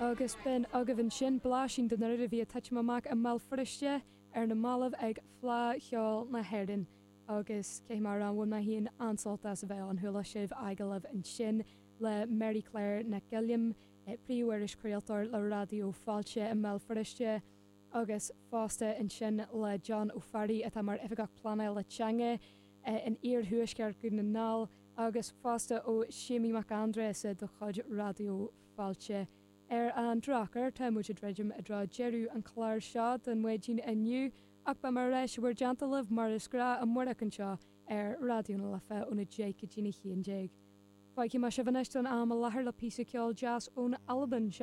Agus b'in agaibh ansin blaisín den rud a bhí ag titim amach i mBéal Feirste ar na mallaibh ag Fleadh Cheoil na hÉireann. Agus caithfidh mé a rá, bhain mé féin an-sult as a bheith ann. Chuala sibh agallamh ansin le Mary Claire Nic Uilliam, príomh-irischraoltóir le Raidió Fáilte i mBéal Feirste, agus fosta ansin le John Ó Fearraigh atá mar Oifigeach Pleanála Teanga in Iarthuaisceart Dhún na nGall agus fosta ó Séimí Mac Aindreasa de chuid Raidió Fáilte. Ar an drochuair, tá muid ag druidim i dtreo deireadh an chláir seo don mhaidin inniu ach beidh mé ar ais i bhur dteannta libh mar is gnáth amárach anseo ar Raidió na Life óna 10 go dtína 11. Fágfaidh mé sibh anois don am i láthair le píosa ceoil deas ón Albain. Seo.